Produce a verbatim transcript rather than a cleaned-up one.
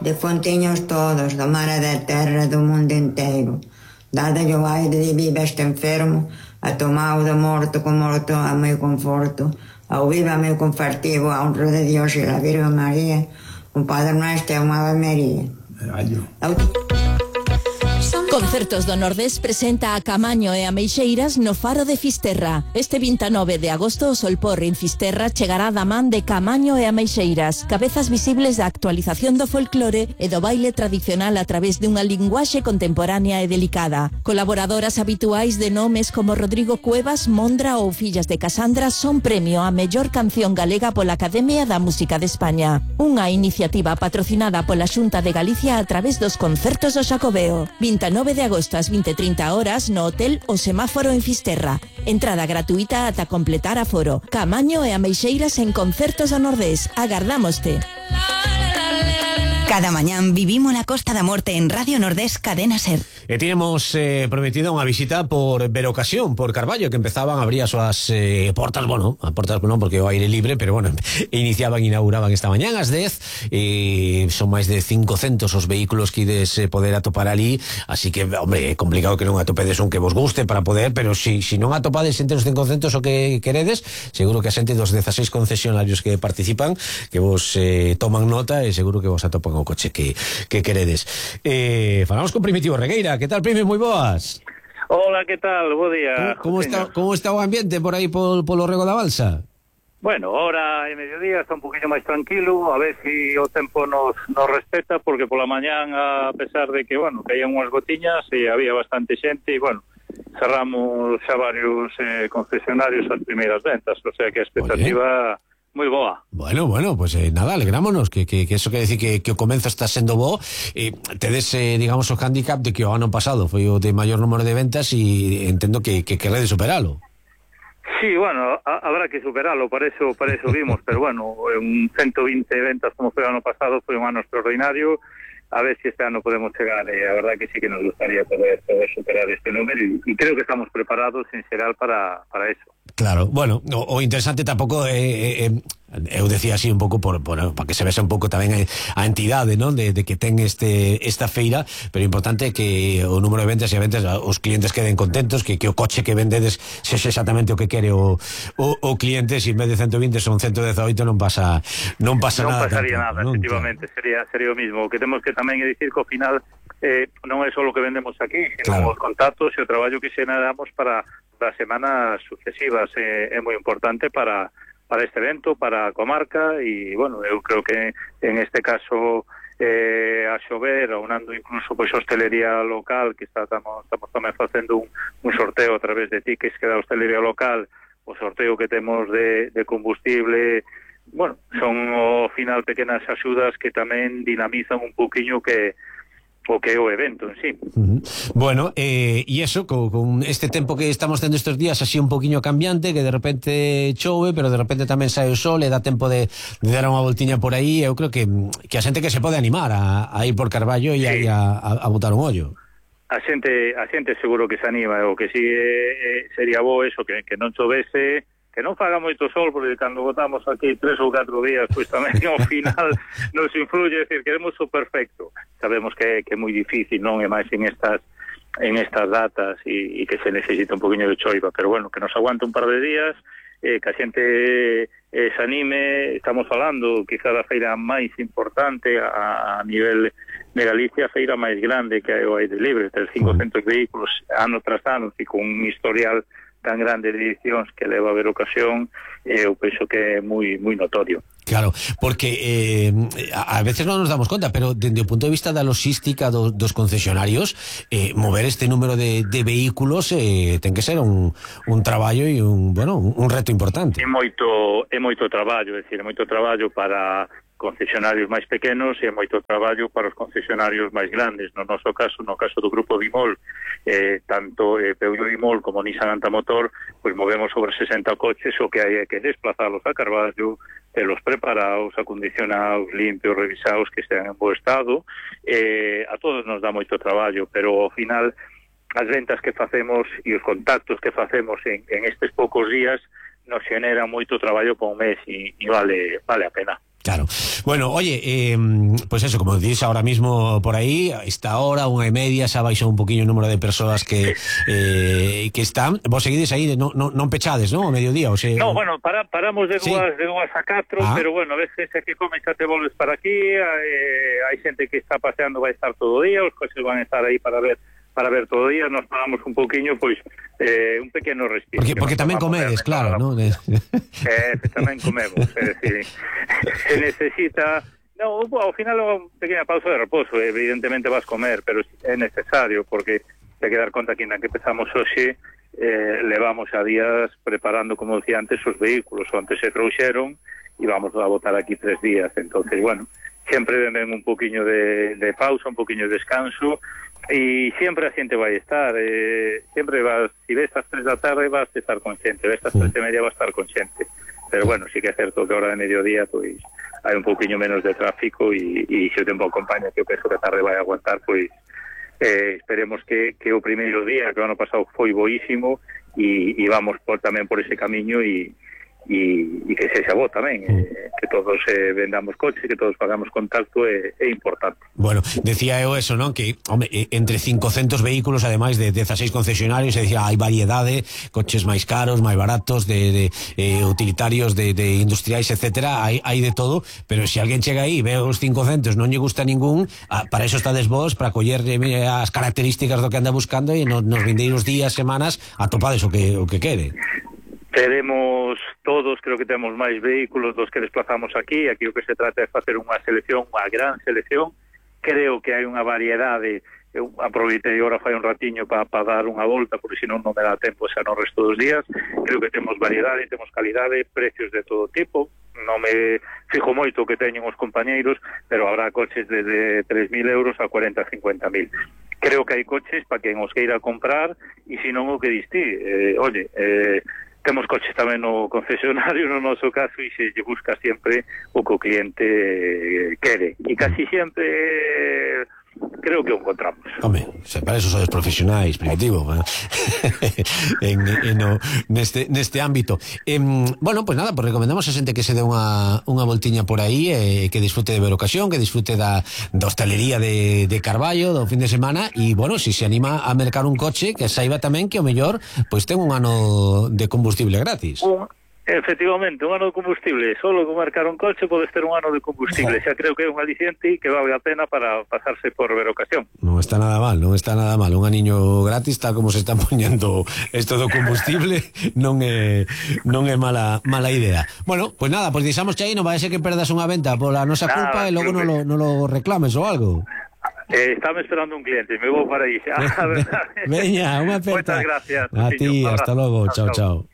de fontiños todos, do mar e da terra, do mundo inteiro. Dada yo aire de viva este enfermo, a tomao do morto con morto a meu conforto, ao viva meu confartivo, a honra de Dios e la Virgen María, un Padre Nuestro e unha Ave María. Concertos do Nordés presenta a Camaño e a Meixeiras no Faro de Fisterra. Este vinte e nove de agosto o Solpor en Fisterra chegará da man de Camaño e a Meixeiras, cabezas visibles da actualización do folclore e do baile tradicional a través dunha linguaxe contemporánea e delicada. Colaboradoras habituais de nomes como Rodrigo Cuevas, Mondra ou Fillas de Casandra son premio a mellor canción galega pola Academia da Música de España. Unha iniciativa patrocinada pola Xunta de Galicia a través dos concertos do Xacobeo. vinte e nove de agosto ás vinte e trinta horas no Hotel O Semáforo en Fisterra. Entrada gratuita ata completar aforo. Camaño e a Meixeiras en Concertos do Nordés. Agardámoste. Cada mañán vivimos la Costa da Morte en Radio Nordés Cadena Ser. E tínhamos eh, prometido unha visita por ver ocasión, por Carballo, que empezaban a abrir as súas eh, portas, bueno, a portas non porque o aire libre, pero bueno, iniciaban, inauguraban esta mañán ás dez, e son máis de cincocentos os vehículos que ides eh, poder atopar ali, así que, hombre, é complicado que non atopedes un que vos guste para poder, pero si, si non atopades entre os cincocentos o que queredes, seguro que a xente dos dezaseis concesionarios que participan, que vos eh, toman nota e seguro que vos atopan o coche que, que queredes. Eh, falamos con Primitivo Regueira. Que tal, Primi? Moi boas. Hola, que tal? Bo día. Como está, como está o ambiente por aí pol, polo Rego da Balsa? Bueno, ahora en mediodía está un poquinho máis tranquilo, a ver si o tempo nos, nos respeta, porque pola mañán, a pesar de que, bueno, caían unhas gotiñas e había bastante xente, e, bueno, cerramos xa varios eh, concesionarios as primeiras ventas, o sea que a expectativa... Oye. Moi boa. Bueno, bueno, pues eh, nada, alegrámonos que, que, que eso quere decir que, que o comenzo está sendo bo. Eh, tedes, eh, digamos, o handicap de que o ano pasado foi o de maior número de ventas e entendo que, que querede superalo. Sí, bueno, a, habrá que superalo, para eso, para eso vimos, pero bueno, un ciento veinte ventas como foi o ano pasado foi un ano extraordinario. A ver si este ano podemos chegar, eh, a verdad que sí que nos gustaría poder, poder superar este número y, y creo que estamos preparados en xeral para, para eso. Claro, bueno, o, o interesante tampouco eh, eh, eu decía así un pouco por, por para que se vese un pouco tamén a entidade, non, de, de que ten este esta feira, pero importante que o número de ventas e ventas os clientes queden contentos, que, que o coche que vendedes sexa exactamente o que quere o, o, o cliente, se si en vez de ciento veinte son ciento dezaoito non pasa non pasa non nada. Non pasaría tanto, nada, non? efectivamente, sería sería o mismo. O que temos que tamén é dicir que ao final eh, non é só o que vendemos aquí, sino claro, os contactos e o traballo que xeneramos para das semanas sucesivas é, é moi importante para para este evento, para a comarca e, bueno, eu creo que en este caso eh, a xover, aunando incluso pois a hostelería local, que está, estamos, estamos tamén facendo un, un sorteo a través de tickets que dá a hostelería local, o sorteo que temos de, de combustible, bueno, son ao final pequenas axudas que tamén dinamizan un poquinho que o que é o evento en sí. Uh-huh. Bueno, e eh, eso, con, con este tempo que estamos tendo estes días así un poquinho cambiante, que de repente chove, pero de repente tamén sae o sol e dá tempo de, de dar unha voltiña por aí, eu creo que, que a xente que se pode animar a, a ir por Carballo e sí, a, a, a botar un ollo. A xente, a xente seguro que se anima, o que si eh, sería bo eso, que, que non chovese, que non faga moito sol, porque cando botamos aquí tres ou catro días, pois tamén ao final nos influye, é dicir, queremos o perfecto. Sabemos que, que é moi difícil, non? E máis en estas en estas datas e, e que se necesita un poquinho de choiva, pero bueno, que nos aguante un par de días, eh, que a xente eh, se anime. Estamos falando quizá da feira máis importante a, a nivel de Galicia, a feira máis grande que hai o aire libre, tres mil cincocentos vehículos ano tras ano, e con un historial tan grande de edicións que leva a ver ocasión, eh, eu penso que é moi moi notorio. Claro, porque eh, a, a veces non nos damos conta, pero dende o punto de vista da logística do, dos concesionarios, eh, mover este número de, de vehículos eh, ten que ser un, un traballo e un, bueno, un reto importante. É moito, é moito traballo, é dicir, é moito traballo para concesionarios máis pequenos e moito traballo para os concesionarios máis grandes. No noso caso, no caso do grupo Bimol, eh, tanto eh, Peugeot Bimol como Nissan Antamotor, pois movemos sobre sesenta coches, o que hai é que desplazalos a Carballo, telos preparados, acondicionados, limpios, revisados, que estean en bo estado. Eh, a todos nos dá moito traballo, pero ao final as ventas que facemos e os contactos que facemos en, en estes poucos días nos xenera moito traballo por un mes e, e vale, vale a pena. Claro. Bueno, oye, eh, pues eso, como dices ahora mismo por aí, esta hora, unha e media, xa baixou un poquinho o número de persoas que eh, que están. Vos seguides aí, non, non, non pechades, non? O mediodía, o sea... No, bueno, para, paramos de sí. dúas, de dúas a catro, ah. pero bueno, a veces é que comes xa te volves para aquí, eh, hai xente que está paseando, vai estar todo o día, os coches van a estar aí para ver para ver todo o día, nos pagamos un poquinho, pois, eh, un pequeno respiro. Porque, porque tamén comedes, claro, ¿no? Eh, tamén comemos, é dicir, se necesita... No, ao final unha pequena pausa de reposo, evidentemente vas comer, pero é necesario, porque hai que dar conta que na que empezamos hoxe, eh, levamos a días preparando, como decía antes, os vehículos, onde se trouxeron, e vamos a botar aquí tres días, entonces, bueno, sempre ven un poquinho de, de pausa, un poquinho de descanso, e sempre a xente vai estar, eh, sempre vas, se ves as tres da tarde vas a estar con xente, ves as tres e media vas a estar con xente, pero bueno, sí que é certo que a hora de mediodía pois hai un pouquiño menos de tráfico e, e se o tempo acompaña, que eu penso que a tarde vai aguantar, pois eh, esperemos que, que o primeiro día, que o ano pasado foi boísimo, e, e vamos por, tamén por ese camiño e e, e que sexa bo tamén, eh, que todos eh, vendamos coches, que todos pagamos contacto é, é importante. Bueno, decía eu eso, non? Que, home, entre cincocentos vehículos, ademais de dezasseis concesionarios, se decía, hai variedade, coches máis caros, máis baratos, de, de eh, utilitarios, de, de industriais, etcétera, hai, hai de todo, pero se alguén chega aí e ve os cincocentos, non lle gusta ningún, ah, para eso estades vos, para coller eh, as características do que anda buscando e nos, nos vindeiros días, semanas, atopades o que, o que quere. Teremos todos, creo que temos máis vehículos dos que desplazamos aquí, aquí o que se trata é facer unha selección, unha gran selección, creo que hai unha variedade, eu aproveitei agora fai un ratiño para pa dar unha volta, porque senón non me dá tempo xa no resto dos días, creo que temos variedade, temos calidade, precios de todo tipo, non me fijo moito que teñen os compañeiros, pero habrá coches desde tres mil euros a cuarenta, cincuenta mil. Creo que hai coches para quen os queira comprar, e se non o que distí, eh, oye, eh, temos coches tamén no concesionario no noso caso e se lle busca sempre o que o cliente quere e casi sempre creo que o encontramos. Home, para eso sois profesionais, Primitivo, en, en no, neste, neste ámbito. Eh, bueno, pues nada, pues recomendamos a xente que se dé unha, unha voltiña por aí, eh, que disfrute de ver ocasión, que disfrute da, da hostelería de, de Carballo do fin de semana e, bueno, si se anima a mercar un coche, que saiba tamén que o mellor pois ten un ano de combustible gratis. Un Efectivamente, un ano de combustible, solo con marcar un coche podes ter un ano de combustible, xa creo que é un aliciente que vale a pena para pasarse por ver ocasión. Non está nada mal, non está nada mal, un aniño gratis, tal como se está poñendo isto do combustible, non é non é mala mala idea. Bueno, pois pues nada, pois pues deixamos aí, non vai ser que perdas unha venta pola nosa culpa e logo non lo, non lo reclames ou algo. Eh, estaba esperando un cliente, me vou para aí. Veña, unha aperta. Moitas gracias. A ti, hasta logo, chao, chao.